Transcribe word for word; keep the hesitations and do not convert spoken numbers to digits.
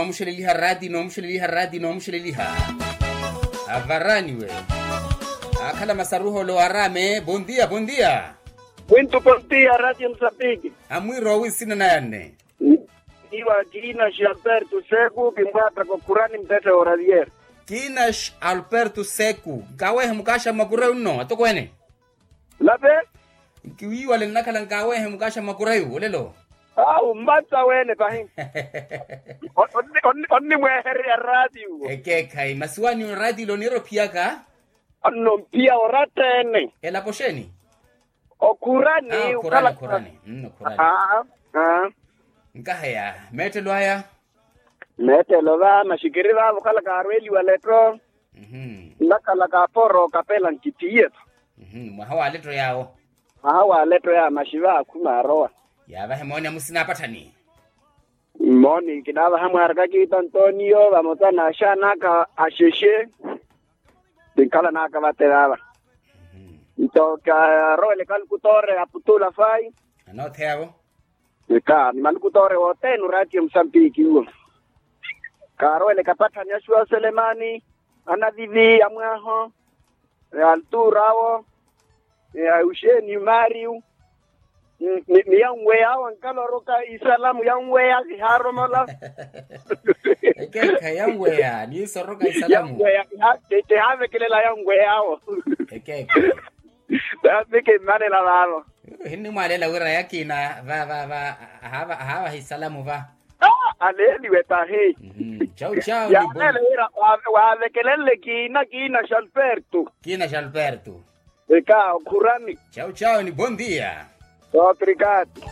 Noomuxeleliha raati noomuxeleliha raati noomuxeleliha. Avaraniwe. Akhala masaruholo arame bondia bondia. Wintu bondia ratio musapiki. Amwiro awisina nayanne. Iwa kiinaxi alberto seku kimwataka okhurani mpetthe oravier. Kiinaxi alberto seku nkawehe mukaaxa mmakurayu nno atokweene. Lape. Nkiwiiwale nnakhala nkawehe mukaaxa mmakurayu olelo. Awu mmatsa wene pahi. Onnimweehererya raatiyo. Ekeekhayi masi waniyo raatiyo oniira ophiyaka. Anno mpiya oratta-ene. Elapo xeeni? Okhurani okhurani okhurani. Nkaheya meettelo aya. Meettelo va maxikiri vaavo okhala kaarweeliwa letto. Nnakhala kaaporo kapela nkithiye-tho. Mwaha wa letto yaawo. Mwaha wa letto yaawo maxi va akhuma arowa. Yaavahe mooni amusina apatthani. Mmooni kinaavaha mwaaraka kiita antoniyo vamosa n'axaan'aka axexe. Tinkhalan'aka vate vaava. Nto kaarowele kalukutore aputula fayi. Anoottheyavo. Eka ni malukutore wothene oraatiyo musambiki uwo. Kaarowele kapatthani axuwa oselemani anavivi amwaaho. Altura awo. Auxeni mario. Ni yanweya awo ankala oroka isalamu yanweya sihaaromola. Ekeekha yanweya niiso oroka isalamu. Yanweya. Tihaavekelela yanweya awo. Ekeekha. Taambi kimmalela vaavo. Hinnimwalela wira yakina va va va. Ahaavaha isalamu va. Aleeliwe tahi. Chau chau. Yaalela wira waavekelenle kiina kiina xalperto. Kiina xalperto. Eka okhurani. Chau chau ni bondia. Obrigado.